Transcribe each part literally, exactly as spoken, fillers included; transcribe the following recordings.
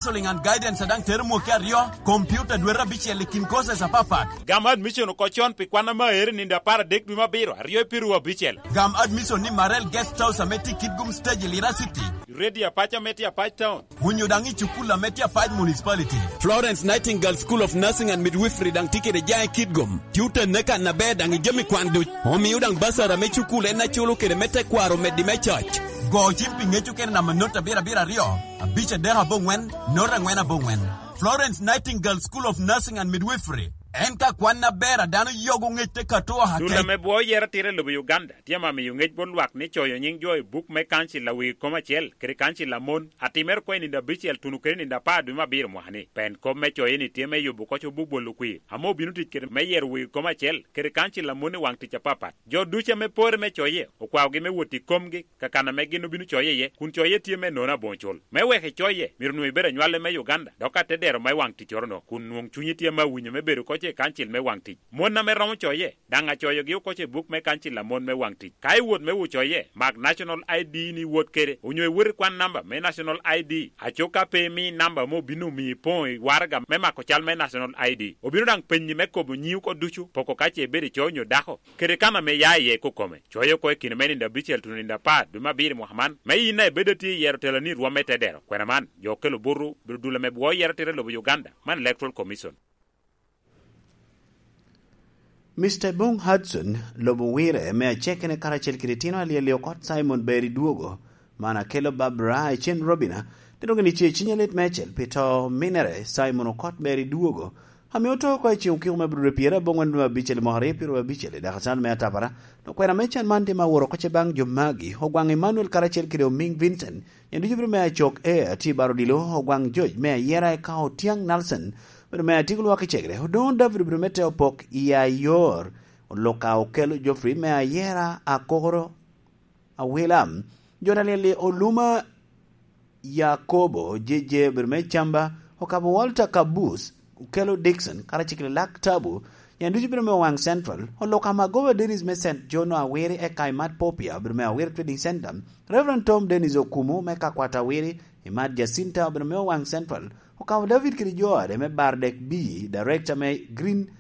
Counseling and guidance a daŋ tero mwaki aryo, computer dwete abicel i kin courses apapat. Gam admission oko con pi kwan ame aero i nino apar adek dwe me abiro, aryo i piru abicel. Gam admission ni Marel Guest House ame tye i Kitgum Stage i Lira City. Radio Apac ame tye Apac Town. Onyo daŋ i cukul ame tye Apac Municipality. Florence Nightingale School of Nursing and Midwifery daŋ tye kede jaŋ i Kitgum. Tye oteggi kan aber daŋ i jami kwan duc. Omio daŋ basara me cukul en aculo kede me tekwaro omeddi me coc. Go cim pi ŋec okene namba not abiro abiro aryo, abic adek aboŋwen, not angwen aboŋwen. Florence Nightingale School of Nursing and Midwifery. En ka kwan aber a dano yogo ŋec te kato aka Dul ame bwo yero tira i lobo Uganda, tye ame miyo ŋec bot lwak ni coyo nyiŋ jo i buk me kancil a wegi kom acel, kede kancil a mon, atimere oko i nino abicel tuno kede nino apar dwe me abiro mwaka-ni. Pen kop me coye-ni tye me yubo koc obuk bolo kwir, ame obino tic kede me yero wegi kom acel, kede kancil a mon i waŋ tic apapat. Jo ducu ame pore me coye, okwaogi me wot i komgi, ka kan ame gin obino coye iye, kun coye tye me nono aboŋo cul. Me wek icoye, myero onwoŋo ibed anywale me Uganda, dok atedero me waŋ ticcoro-no, kun nwoŋ cunyi tye me awinyo me bedo koc i kancil me waŋ tic. Mon ame romo coye, daŋ acoyogi oko i buk me kancil a mon me waŋ tic. Ka iwot me wucoye, mak National I D ni iwot kede, onyo iwot ikwan namba me National I D. Aco ka pe imi namba ame obino omiyo ipoŋo i waraga me mako cal me National I D, obino daŋ penyi me kobo nyiŋ oko ducu, poko ka ce ibedo ico onyo dako, kede kan ame ia iye kokome. Coye oko i kine me nino abicel tuno nino apar dwe me abiro i mwaka man, me yin a ibedo atye iyero teloni i rwom me tedero. Kwena man, jo okelo buto, bedo dul ame bwo yero tira i lobo Uganda, man Electoral Commission. Mister Bong Hudson, lobo Wire, me acekene karacel kede itino alyel-li Okot Simon Beri Dwogo, man akelo Barbara Ecen Robina, tito gini ce ciny alit meicel pi to minere Simon Okot Beri Dwogo, ame oto oko i ceŋ okiko me Abril pyerabongwen dwe me abicel i mwaka aryo pyeraryo abicel i dakacan me atapara, dok kwena me can man tye ma aworo oko ce baŋ jo magi, Ogwaŋ Emmanuel karacel kede Omiŋ Vincent, nyen ducu bino me Acok Air, tye i bar odilo, Ogwaŋ George me Ayera eka Otiaŋ Nelson, bedo me Atik Lwak i Cegere, Odoŋo David obedo me te opok i Ayor, Oluka Okello Geoffrey me Ayera Akokoro Awila, Jona Lyelli Oluma Yakobo J J obedo me Camba, Okabo Walter Kabus, Okello Dickson, karacel kede Lak Tabu, nyen ducu obedo me Owaŋ Central, Oluka Magoba Dennis me Saint John Awiri eka Imat Popia obedo me Awiri Trading Center, Reverend Tom Dennis Okumu me Kakwat Awiri, Imat Jacinta obedo me Owaŋ Central, Okabo David kede jo ade me Bardek B, Director me Green,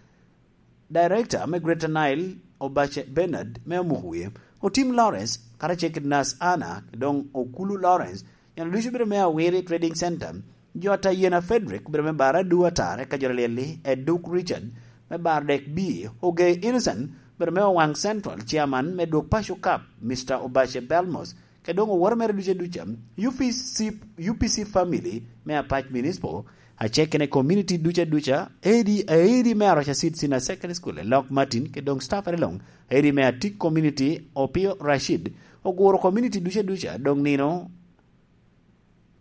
Director me Greater Nile, Obace Bernard me Omuk Wie, Otim Lawrence, karacel kede Nas Anna, doŋ Okulu Lawrence, nyen ducu obedo me Awiri Trading Center, jo Atayena Frederick obedo me Baradu Atar, eka jo Lyelli, Eduk Richard, me Bardek B, Ogei Innocent, obedo me Owaŋ Central, Chairman me Dwog Paco Cup, Mister Obace Belmos, kede doŋ oworo mere duca duca, U P C, U P C family me Apac Municipal, acekene community duca duca, A D, A D me Aroca Seed Senior Secondary School, Elok Martin, kede doŋ staff ere luŋ, A D me Atik Community, Opio Rashid, oguro community duca duca, doŋ nino,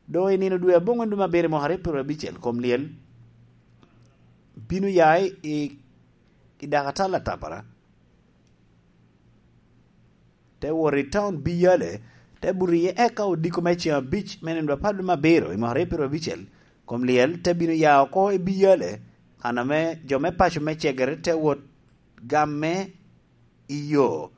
doŋ i nino dwe aboŋwen dwe me abiro i mwaka aryo pyeraryo abicel, kom lyel bino ya i, i dakatal atapara. Te wot i taun Biyale, te buto iye eka odiko me ceŋ abic me nino apar dwe me abiro i mwaka aryo pyeraryo abicel. Kom lyel te bino ya oko i Biyale, kan ame jo me paco me Cegere te wot gamme i yo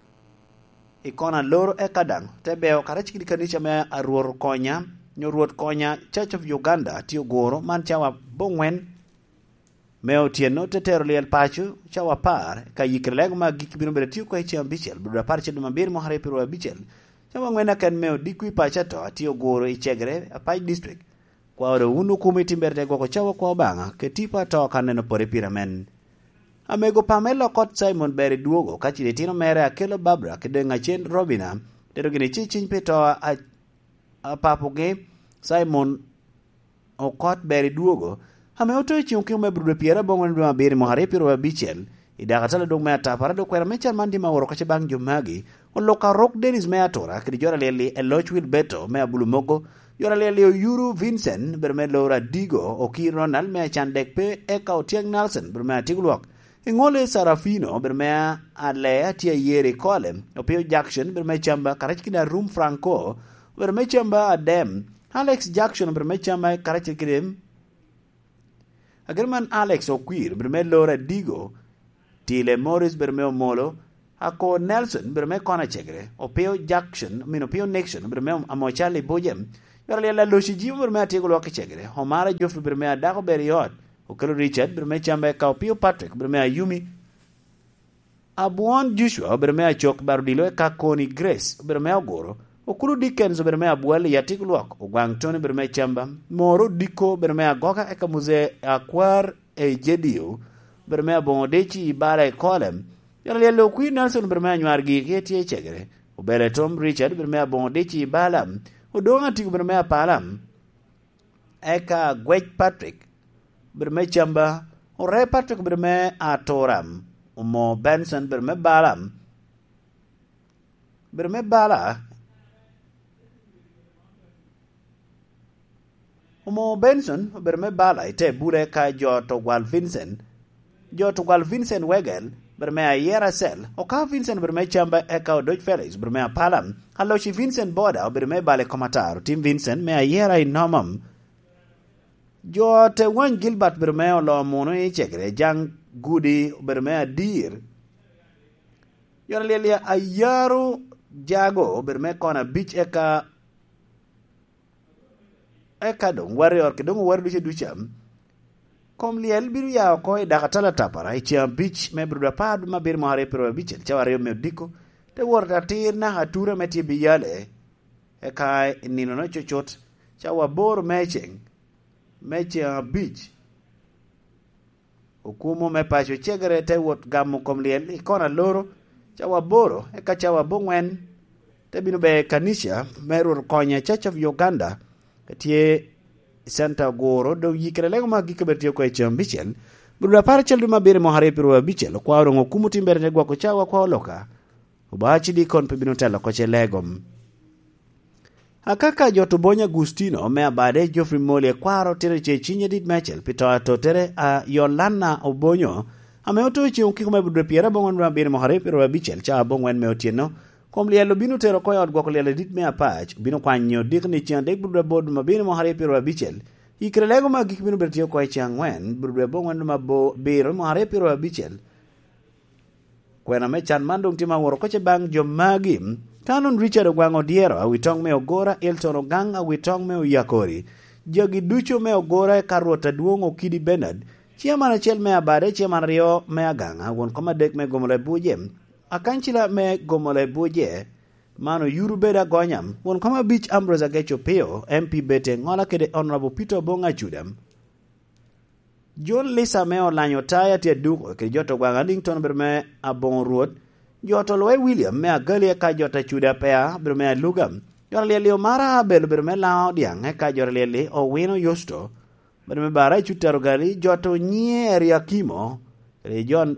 i kona loro, eka daŋ te beo karacel kede kanica me a Rwot Okonya, nyo Rwot Konya Church of Uganda, tye oguro man cawa aboŋwen me otyeno, te tero lyel paco cawa apar, ka yikere lego me agikki bino bedo atye oko i ceŋ abicel, Abril apar acel dwe me abiro mwaka aryo pyeraryo abicel. Cawa aŋwen aken me odiko i paco ato atye oguro i Cegere, Apac District. Kwao doŋ wun okumi timbere te gwoko cawa kwa Obaŋa, kede tipo ato ka neno pore pire amen. Amego pa me Lokot Simon ber i dwogo, ka cito itino mere Akelo Barbara kede doŋ acen Robina, tero gini ci ciny pi to a, a papugi, Simon Okot ber i dwogo, ame oto i ceŋ okiko me Abril dwe pyerabongwen dwe me abiro i mwaka aryo pyeraryo abicel, i dakatal adwoŋ me atapara, dok kwena me can man tye ma oro kace baŋ jo magi, Oluka Rok Dennis me Atura, kede jo Alyelli Eloc Wilberto me Abulumogo, jo Alyelli Oyuru Vincent, bedo me Loro Adigo, Okir Ronald me Acandek pe, eka Otyeng Nelson, bedo me Atigulwok, Iŋole Sarafino, bedo me Alea tye ayeri i Kole, Opio Jackson, bedo me Camba, karacel kede Arum Franco, bedo me Camba Adem, Alex Jackson, bedo me Camba, karacel kede Agerman Alex Okwir, bedo me Loro Adigo, Tile Morris, bedo me Omolo, Ako Nelson, bedo me Kona Cegere, Opio Jackson, I mean, Opio Nixon, bedo me Amo Charlie Bujem, Yot alyel, Aloci Jim obedo me atyeko lwak i cegere. Omara Geoffrey obedo me adako ber i ot. Okelo Richard obedo me camba, eka Opio Patrick obedo me ayumi. Abwon Joshua obedo me acok, bar odilo, eka Koni Grace obedo me oguro. Okulu Dickens obedo me abwal i atyeko lwak. Ogwaŋ Tony obedo me camba. Moro Odiko obedo me agoka, eka Muzee Akwar i Jedio obedo me aboŋo dic i bala i Kolem. Yot alyel, Okwir Nelson obedo me anywar gigi tye i cegere. Obele Tom Richard obedo me aboŋo dic i bala. Odoŋ Atiko obedo me apala. Eka Gwec Patrick obedo me camba. Ore Patrick obedo me atura. Omo Benson obedo me bala. Obedo me bala. Omo Benson obedo me bala i te bula, eka jo to gwal Vincent. Jo to gwal Vincent Wegel obedo me ayera cel. Okawo Vincent obedo me camba, eka Odoc Felix obedo me apala. Aloci Vincent Boda obedo me bala i kom ataro. Tim Vincent me ayera i nomam. Jo te wany Gilbert obedo me olo muno i cegere. Jaŋ Gudi obedo me adir. Yot alyel, Ayaro Jago obedo me kona abic, eka, eka doŋ wari ot, kede doŋ owari ducu duca. Kom lyel bino ya oko i dakatala tapara i ceŋ abic me bro apar dwe me abiro mwaka aryo pyeraryo abicel, cawa aryo me odiko, te wot atir naka atura me tye biyale, eka i nino no cucut, cawa aboro me ceŋ, me ceŋ abic. Okumo me paco cegere te wot gamo kom lyel i kona loro, cawa aboro, eka cawa aboŋwen te bino ber i kanica me Rwot Okonya Church of Uganda, ka tye i Center Oguro, doŋ yikere lego ma agikki bedo tye oko i ceŋ abicel. Bro apar acel dwe me abiro mwaka aryo pyeraryo abicel, okwao doŋ okumo tim bere te gwoko cawa kwa oloka. Obaci dikon pe bino telo oko ce lego. Akaka jo to Bonyo Agustino me abade, Geoffrey Moli ekwaro tito ce ciny adit me acel pi to atottere a Yolana Obonyo, ame oto i ceŋ okiko me budwe pyerabongwen me abiro mwaka aryo pyeraryo abicel, cawa abongwen me otyeno. Kom lyel obino tero oko i ot gwoko lyel adit me apac, obino kwanyo dikni ceŋ adek budwe aboro dwe me abiro mwaka aryo pyeraryo abicel. Yikere lego me agikki bino bedo tye oko i ceŋ angwen budwe abongwen dwe me abiro mwaka aryo pyeraryo abicel. Kwena me can man doŋ tye ma woro oko ce baŋ jo magi. Canon Richard Ogwaŋ Odyero, awitoŋ me Ogora, Elton Ogaŋ, awitoŋ me Oyakori. Jagi ducu me Ogora, eka Rwot Adwoŋ Okidi Bernard, ciaman acel me Abade, ciaman aryo me Agaŋa, won kom adek me Gomolo Ebuje, akancila me Gomolo Ebuje, man oyuru bedo agonya, won kom abic Ambrose Agec Opio, M P Bete Ŋola kede Honorable Peter Obong Acuda. John Lisa me Olanyo Taya tye aduko, kede jo to Gwaŋ Addington obedo me Aboŋo Rwot, jo to Lowe William me Agali, eka jo to Acuda Pea obedo me Aluga, jo to Lyelio Mara Abel obedo me Laŋo Diaŋ, eka jo to Lyeli Owino Yusto obedo me Bara i Cutter Ogali, jo to Nyie Eriakimo, kede John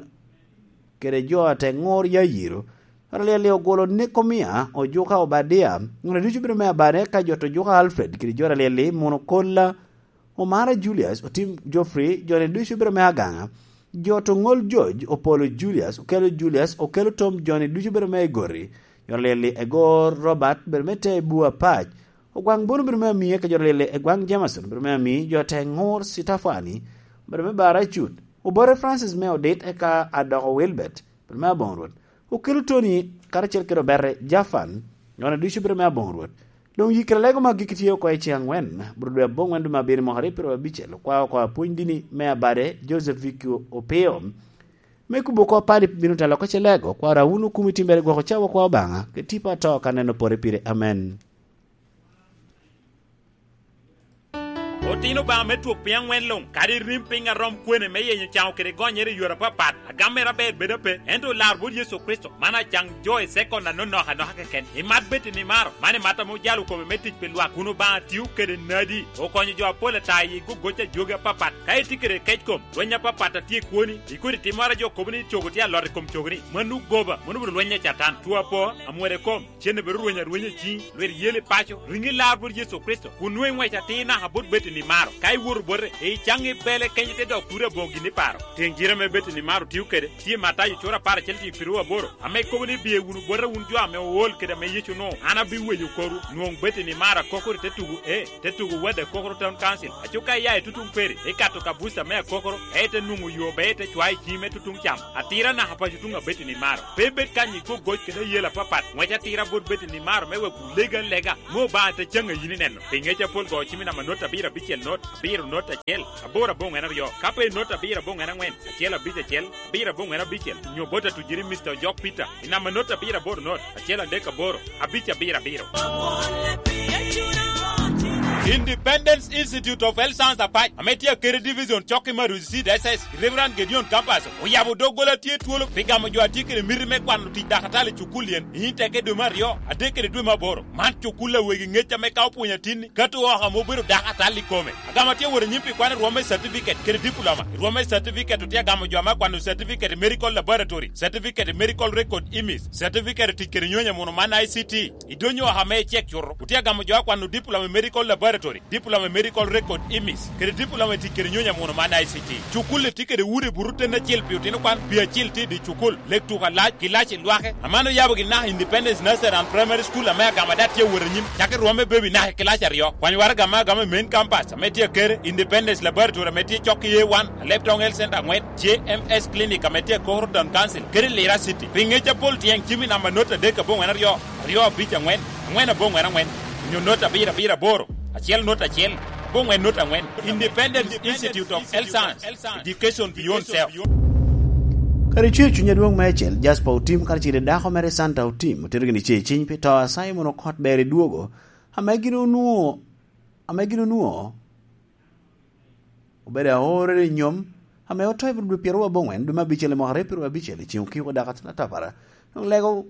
kede jo a te ŋur Yayiro. Jo a lyel-li ogwolo Nekomia, Ojuka Obadia, ŋut ducu bedo me Abane, ka jo to Ojuka Alfred, kede jo a lyel-li Muno Kolla, Omara Julius, Otim Geoffrey, jo-ni ducu bedo me Agaŋa, jo to Ŋol George, Opolo Julius, Okelo Julius, Okelo Tom, jo-ni ducu bedo me Egori, jo a lyel-li Egor Robert, bedo me Tebu Apac, Ogwaŋ Bono bedo me Amii, eka jo a lyel-li Egwaŋ Jameson, bedo me Amii, jo te Ŋur Citafani, bedo me Bara Cut, Obote Francis me Odit, eka Adoko Wilbert, bedo me Aboŋo Rwot. Okelo Tony, karacel kede Obete Jafan, jo-ni ducu bedo me Aboŋo Rwot. Doŋ yikere lego me agikki tye oko i ceŋ angwen, bro dwe aboŋwen dwe me abiro mwaka aryo pyeraryo abicel, okwao oko apwony dini me Abade, Joseph Vicky Opio. Me kubo oko padi bino telo oko ce lego, kwaro a wun okumi timbere gwoko cawa kwa Obaŋa, ke tipo ato ka neno pore pire. Amen. Otino Obaŋa me twok piny aŋwen luŋ, kadi rim piny a rom kwene me yenyo caŋo kede gonyere i yore apapat, agam mere aber bedo ape, ento olar bot Yecu Kricito, man acaŋ jo i sekon anonok anoka keken. Imat bed imaro, man imat ame ojalo kome me tic pi lwak, kun Obaŋa tio kede nadi, okonyo jo apol ata i gogoc a jogi apapat. Ka itye kede kec kom, lweny apapat a tye i kwoni, i kodi timmoro a jo kobo ni cogo tye alot i kom cogoni, mano goba, mano obedo lweny a Catan. Two apo, amwere kom, cen obedo rweny arwenya i ciŋi, lwit yel i paco, riŋi lar bot Yecu Kricito, kun nwoŋo iŋwec atir naka bot bed Ni maro, ka iwoto bote, icaŋ i bele kenyo te dok kuri aboŋo gin i paro. Teŋ jire ame Betty ni maro tio kede, tye Matayo cura apar acel tye i piru aboro, ame kobo ni, "Biye wunu bota wun jo ame ool kede ame Yecu onwoŋo, an abiweyo korwu." Nwoŋ Betty ni maro akokoro i te tugo, e, te tugo Wade Akokoro Town Council. Aco ka iya i tutuŋ peri, ikato ka buca me akokoro, e te nwoŋo yo ber te cwayo i ciŋi me tutuŋ cam. Atira naka paco tuŋ a Betty ni maro. Pe ibed kany i kwo goc kede ayela apapat. Ŋwec atira bot Betty ni maro me wek olega lega. Ŋo Obaŋa te caŋ a yin ineno? Pi ŋec apol go cim i namba not abiro abicel not, abiro not acel, aboro aboŋwen aryo. Ka pe not abiro aboŋwen aŋwen, acel abic acel, abiro aboŋwen abicel, nyo bot atujiri Mister Ojok Peter, i namba not abiro aboro not, acel adek aboro, abic abiro abiro. Independence Institute of Health Science Apac, ame tye Akere Division, cok i Maruzi C D S S, Reverend Gideon Campus, oyabo doggola tye twolo pi gamo jo a tye kede miti me kwano tic dakatali i cukul yen, i teke dwe me aryo, adek kede dwe me aboro. Man cukul a wegi ŋec ame ka opwonyo atinni, kato oko ame obedo dakatali i kome. Agamo atye wot anyim pi kwano rwom me certificate kede diploma. Rwom me certificate otye agamo jo ame akwano certificate i medical laboratory, certificate i medical record image, certificate i tic kede nyonyo muno man I C T. I dony oko ame icek cuto, otye agamo jo akwano diploma i medical laboratory, diploma i medical record image, kede diploma i tic kede nyonyo muno man I C T. Cukul-li tye kede udi buto ten acel pi otino kwan, pi acel tye i dye cukul, lek tuko alac, kilaci lwake. Aman oyabo gin naka Independence Nursery and Primary School ame agamo ada tye awot anyim, cakki rwom me baby naka i kilaci aryo. Kwany waraga ame agamo i main campus ame tye Akere, Independence Laboratory ame tye cok i A one, Alebtong Health Center aŋwen, J M S Clinic ame tye Akokoro Town Council, kede Lira City. Pi ŋec apol tyeŋ cim i namba not adek aboŋwen aryo, aryo abic aŋwen, aŋwen aboŋwen aŋwen, onyo not abiro abiro aboro, acel not acel, aboŋwen not aŋwen. Independent Institute of Health Science, Education Beyond Self. Kadi cwer cuny adwoŋ meicel, Jasper Otim karacel kede dako mere Santa Otim otito gin i cer ciny pi to a Simon Okot ber i dwogo, ame gin onwoŋo, ame gin onwoŋo obedo aorere i nyom, ame oto i dwe pyeraryo aboŋwen, dwe me abicel i mwaka aryo pyeraryo abicel, i ceŋ okiko dako atin atapara. Doŋ lego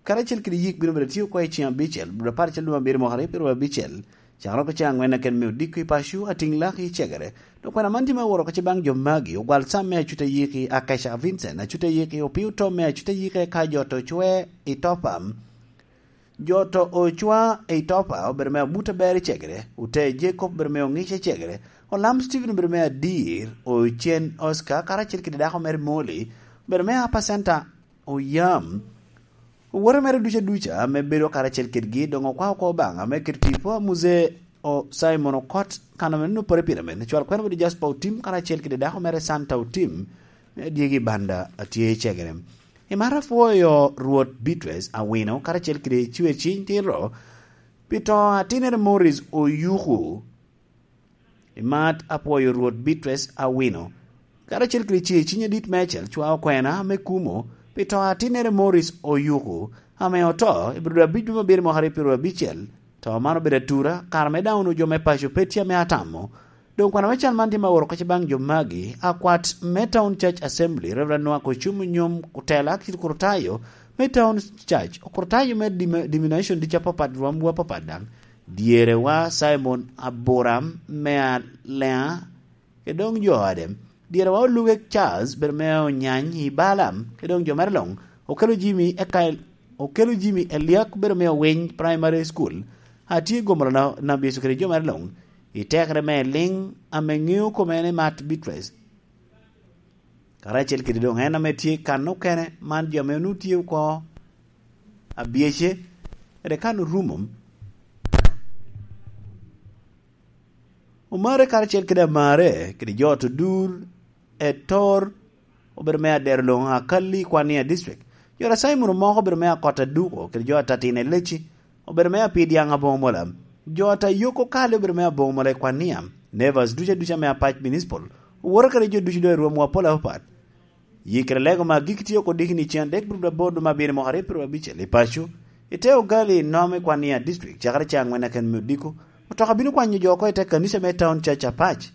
karacel kede yik bino bedo tye oko i ceŋ abicel, dwe apar acel dwe me abiro mwaka aryo pyeraryo abicel, cakere oko ceŋ aŋwen aken me odiko i paco, atiŋ lak i cegere. Doŋ kwena man tye me woro oko ce baŋ jo magi, ogwal sam me acut ayiki, Akesha Vincent, acut ayiki, opii otom me acut ayiki, eka jo to cwe i Topam. Jo to ocwa i Topa obedo me abut aber i cegere, ote Jacob obedo me oŋic i cegere, olam Stephen obedo me adir, ocen Oscar karacel kede dako mere Molly obedo me apa center oyam. Owote mere duca duca ame bedo karacel kedgi doŋ okwao oko Obaŋa me keto tipo a Muzee o Simon Okot kan ame nonno pore pire men. Cwal kwena obedo Jasper Otim karacel kede dako mere Santa Otim me adyegi banda atye i cegere. I mar apwoyo Rwot Beatrice Awino karacel kede cwer ciny tiro pi to a tinere Morris Oyuku. I mar apwoyo Rwot Beatrice Awino karacel kede cwer ciny adit meicel cwao kwena me kumo pi to a tinere Morris Oyuku ame oto i biro abic dwe me abiro mwaka aryo pyeraryo abicel. To man obedo atura, kare me daŋ onwoŋo jo me paco pe tye ame atamo. Doŋ kwena me cal man tye me aworo oko ce baŋ jo magi, akwat me Town Church Assembly, Reverend Noah Kocumu Nyom, otela ki Okurutayo me Town Church, Okurutayo me dim-, denomination ducu apapat, rwomwu apapat daŋ, dyerewa Simon Aburam me Aleŋa, kede doŋ jo ode. Dyere wa Oluge Charles bedo me Onyany i Balaam, kede doŋ jo mere luŋ, okelo Jimmy Ekael, okelo Jimmy Eliak bedo me Owiny Primary School, atye gomo na, na Yecu kede jo mere luŋ, i tekere me liŋ ame ŋeo kome en i Mat Beatrice. Karacel kede doŋ en ame tye kan okene, man jo ame onwoŋo tye oko abyece, kede kan orumo. Omare karacel kede amare, kede jo oto dur, Etor, obedo me adero loŋo Akalli i Kwania District. Jo a Simon Omoko obedo me Akot Aduko, kede jo a Tatina Eleci, obedo me Apidyaŋ Aboŋo Mola. Jo a Tayoko Kali obedo me Aboŋo Mola i Kwania. Nevers ducu aduca me Apac Municipal, owoto kede jo ducu doŋ i rwomwa pol apapat. Yikere lego me agikki tye oko dikini ceŋ adek bur aboro dwe me abiro mwaka aryo pyeraryo abicel i paco, i te Ogali i Nom i Kwania District, cakere ceŋ aŋwen aken me odiko. Otoka bino kwanyo jo oko i te kanica me Town Church Apac.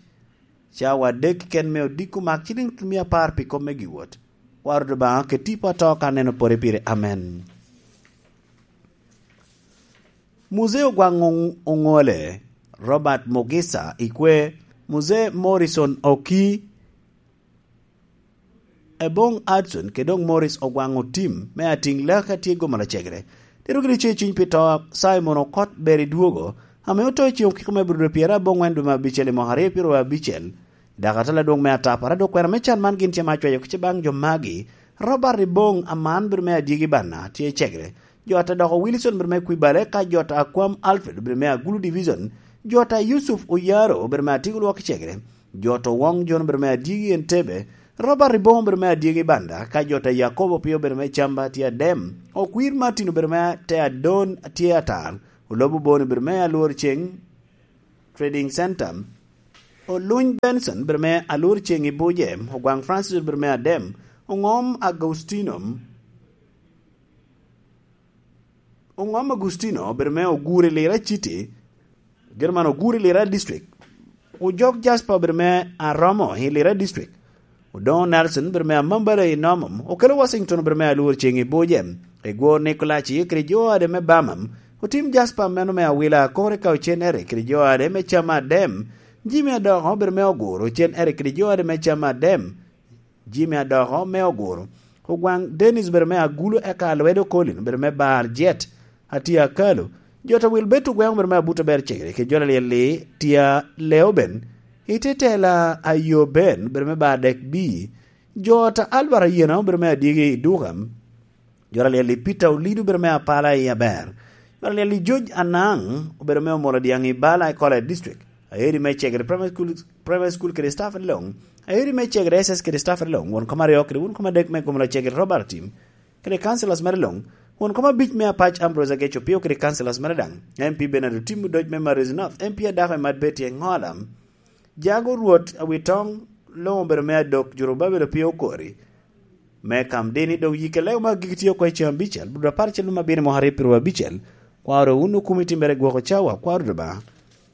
Cawa adek keken me odiko mak ciliŋ tutumia apar pi kop me giwot. Kwaro Obaŋa keti i poto ka neno pore pire. Amen. Muzee Ogwaŋ Oŋ-, Oŋole, Robert Mugisa i kwe, Muzee Morrison Oki, Eboŋ Adson kede doŋ Morris Ogwaŋ Otim me Atiŋ Laki atye gomo lacegere. Tito giri ce cuny pi to a Simon Okot ber i dwogo, ame oto i ceŋ okiko me Abril pyerabongwen dwe me abicel i mwaka aryo pyeraryo abicel. Dok atela adwoŋ me atapara, dok kwena me can man gin tye ma acwayo kica baŋ jo magi: Robert Ribong Aman bedo me Adyegi Banna tye i Cegere, jo ata doko Wilson bedo me Kwibale, ka jo ata Akwam Alfred bedo me Agulu Division, jo ata Yusuf Oyaro bedo me Atigo Lwok i Cegere, jo ata Owoŋ Jon bedo me Adyegi Entebbe, Robert Ribong bedo me Adyegi Banda, ka jo ata Yakobo Opio bedo me Camba tye Adem, Okwir Martin bedo me te Adon tye Atal, Olobo Boni bedo me Alwor Ceŋ Trading Center, Oluny Benson bedo me Alwor Ceŋ i Buje, Ogwaŋ Francis bedo me Adem, Oŋom Agustino, Oŋom Agustino bedo me Ogure Lira City, gin man Ogure Lira District, Ojok Jasper bedo me Aromo i Lira District, Odoŋo Nelson bedo me Amambala i Nomom, Okelo Washington bedo me Alwor Ceŋ i Buje, Egwor Nikolaci kede jo ade me Bamam, Otim Jasper meno me Awila Akore ka Ocen Eric kede jo ade me Cam Adem, Jimmy Adoko bedo me Oguro, Ocen Eric kede jo ade me Cam Adem, Jimmy Adoko me Oguro, Ogwaŋ Dennis bedo me Agulu, eka Alwedo Colin bedo me Bar Jet, Atia Kalo, jo ta Wilbert Ogweŋo bedo me Abuto Ber Cegere, kede jo Laliel-li Tia Leoben, Ite Tela Ayoben bedo me Bar Dek Bi, jo ta Albert Ayena obedo me Adyegi i Duka, jo Laliel-li Peter Olido obedo me Apala i Aber, jo Laliel-li George Anaŋ obedo me Omolo Dyaŋ i Bala i Kola District, Aeri me Cegere Primary School, Primary School kede staff Loŋ, Aeri me Cegere S S kede staff Loŋ, won kom aryo kede won kom adek me Gomola Cegere Robert Tim, kede councillors mere Loŋ, won kom abic me Apac Ambrose Ageco Opio kede councillors mere daŋ, M P Bernard Otim Odoc me Marozi North, M P Adako Emat Betty Eŋola, Jago Rwot Awitoŋ Loŋ obedo me Adok Jurubabel Opio Okori, me Kamdini, dok yike lego ma gigi tye oko i ceŋ abicel, Abril apar acel me abiro mwaka aryo pyeraryo abicel, kwaro wun okumi timmere gwoko cawa, kwaro Rubanga.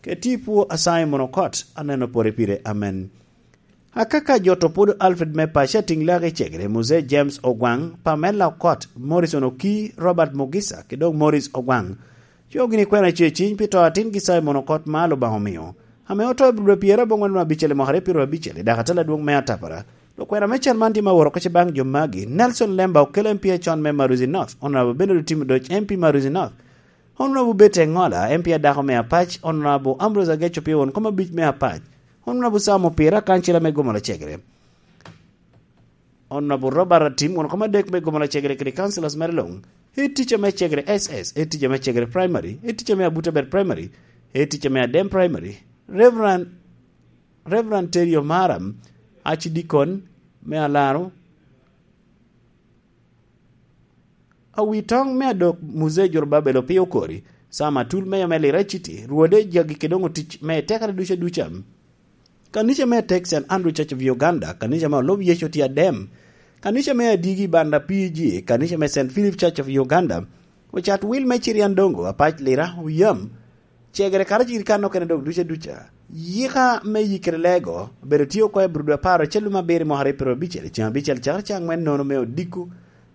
Keti pwo a Simon Okot, aneno pore pire. Amen. Akaka jo to pwodo Alfred me Paco Atiŋ Lak i Cegere, Muse James Ogwaŋ, Pamela Okot, Morrison Oki, Robert Mugisa, kede dok Morris Ogwaŋ. Coo gini kwena ce ciny pi to atingi Simon Okot ma Lubanga omio, ame oto i Abril pyerabongwen me abicel i mwaka aryo pyeraryo abicel, i dako atela adwoŋ me atapara. Dok kwena me can man tye ma woro oko ce baŋ jo magi: Nelson Lemba, Okello M P acon me Marozi North, Honorable Bernard Otim Odoc, M P Marozi North, Honorable Betty Eŋola, M P adako me Apac, Honorable Ambrose Ageco Opio, won kom abic me Apac, Honorable Sam Opira, kancila me Gomola Cegere, Honorable Robert Atim, won kom adek me Gomola Cegere kede councillors mere Loŋ, head teacher me Cegere S S, head teacher me Cegere Primary, head teacher me Abutabel Primary, head teacher me Adem Primary, Reverend, Reverend Terry Omara, Archdeacon me Alaro, Awitoŋ me Adok Muse Jurubabel Opio Okori, Sam Atul, Meya me Lira City, Rwode, jagi kede doŋ otic me tekere ducu aduca. Kanica me Tek Saint Andrew Church of Uganda, kanica me Olub Yecu tye Adem, kanica me Adigi Banda P G, kanica me Saint Philip Church of Uganda, ocat wil me Cirian Dongo, Apac Lira, Oyam, Cegere karacel kede kan okene dok duca duca. Yika me yikere lego obedo tye oko i Abril dwe apar acel lum abiro i mwaka aryo pyeraryo abicel, i ceŋ abicel cakere caŋ aŋwen nono me odiko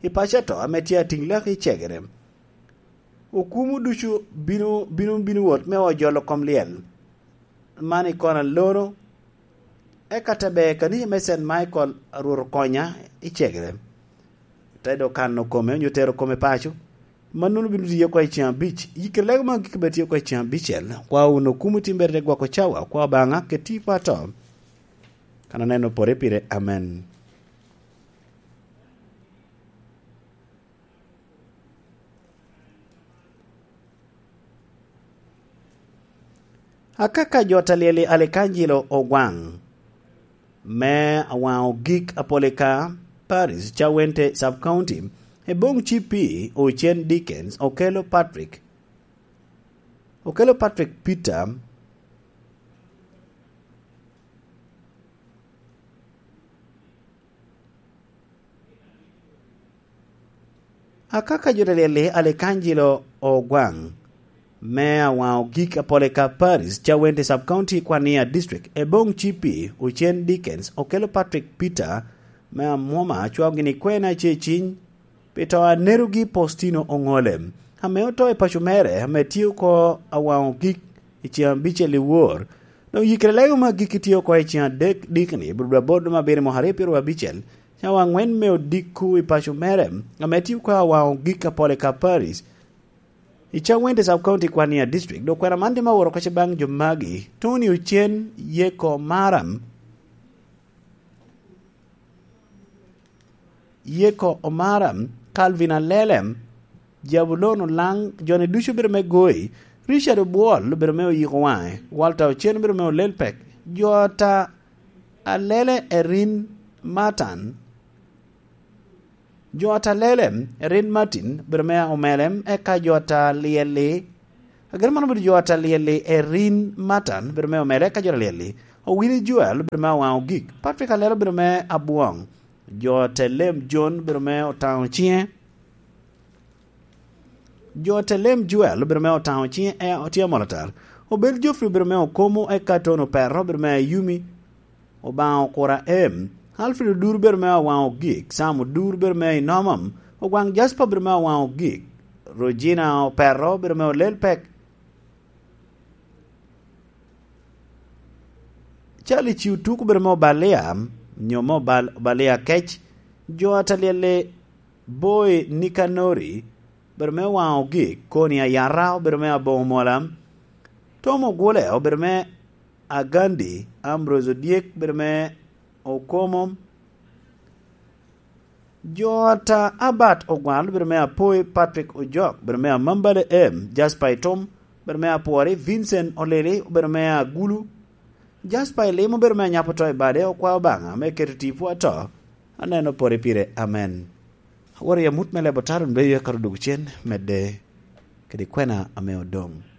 i paco ato ame tye Atiŋ Lak i Cegere. Okumu ducu bino, bino, bino wot me ojolo kom lyel man i kona lono, eka te ber kanica me Saint Michael, Rwot okonya i Cegere. Te dok kano kome, onyo tero kome paco. Mannono bino tiyo oko i ceŋ abic. Yikere lego ma gik bed tye oko i ceŋ abicel. Kwa wun okumu timbere te gwoko cawa, kwa Obaŋa, keti i pato. Kan aneno pore pire. Amen. Akaka jo ta lyel i Alikanjilo Ogwaŋ me Awaŋo Gik Apolika Parish, Cawente Sub County, Eboŋ C P, Ocen Dickens, Okelo Patrick, Okelo Patrick Peter, Akaka jo ta lyel-li, Alikanjilo Ogwaŋ me Awaŋo Gik Apolika Parish, Cawente Sub County, Kwania District, Eboŋ C P, Ocen Dickens, Okelo Patrick Peter me Amwoma, cwao gini kwena ce ciny pi to a Nerogi Postino Oŋole, ame oto i paco mere, ame tye oko Awaŋo Gik i ceŋ abicel i wor. Doŋ yikere lego me agikki tye oko i ceŋ adek dikni, Abril dwe aboro lum abiro i mwaka aryo pyeraryo abicel, cawa aŋwen me odiko i paco mere, ame tye oko Awaŋo Gik Apolika Parish. I Changwende Sub County, Kwania District, dok kwena man tye ma oworo kacce baŋ jo magi: Tony Ocen, Yeko Maram, Yeko Omaram, Calvin Alelem, Jabulon Olaŋ, joni ducu obedo me Goi, Richard Obwol obedo me Oyiko Waŋe, Walter Ocen obedo me Olelpek, jo ata Alele Erin Matan, jo ata Lele Erin Martin obedo me Omelem, eka jo ata Lyelli, ageno mano obedo jo ata Lyelli Erin Matan obedo me Omele, eka jo ata Lyelli Owili Joel obedo me Awaŋ Ogik, Patrick Alele obedo me Abwoŋ, jo ata Lem John obedo me Otaŋo Ciŋe, jo ata Lem Joel obedo me Otaŋo Ciŋe, e, otye amol atar. Obel Geoffrey obedo me Okomo, eka Tony Operro obedo me Ayumi, Obaŋa Okura M, Alfred Odur obedo me Awaŋ Ogik, Sam Odur obedo me Inomom, Ogwaŋ Jasper obedo me Awaŋ Ogik, Rogina Operro obedo me Olel Pek, Charlie Ciutuk obedo me Obalia, nyo me Obal-, Obalia Kec, jo ata Lyelli Boy Nikanori obedo me Waŋ Ogik, Koni Ayata obedo me Aboŋo Mola, Tom Ogule obedo me Agandi, Ambrose Odyek obedo me Okomo, jo ata Albert Ogwal obedo me Apoi, Patrick Ojok obedo me Amambale M, Jasper Itum obedo me Apwori, Vincent Olili obedo me Agulu, Jasper Elim obedo me Anyapo To i Bade, Okwao Obaŋa me keto tipo ato, aneno pore pire, amen. Aworo i amut me lebo taro, doŋ bedo eka odwogo cen, medde kede kwena ame odoŋ.